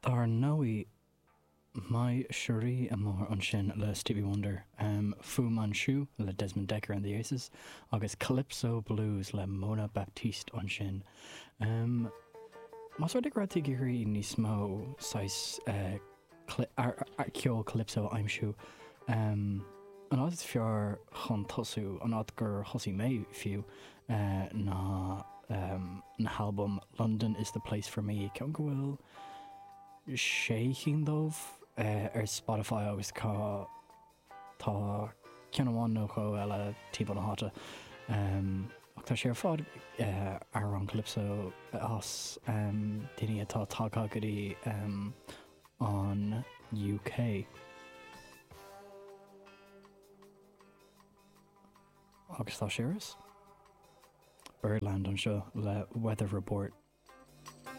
Dar ndóigh, My Cherie Amour ansin le Stevie Wonder, Fu Manchu le Desmond Dekker and the Aces, agus Calypso Blues le Mona Baptiste ansin. Más rud é go raibh tú ag iarraidh níos mó saghas ceol calypso a aimsiú, an áit is fearr chun tosú, an áit gur thosaigh mé fiú, ná na halbaim London is the Place for Me, ceann go bhfuil sé chinn dóibh ar Spotify agus tá tá ceann amháin nó dhó eile timpeall na háite. Ach tá sé ar fad amhráin calypso as daoine atá tagtha go dtí an UK. Agus tá sé ar Birdland anseo le Weather Report.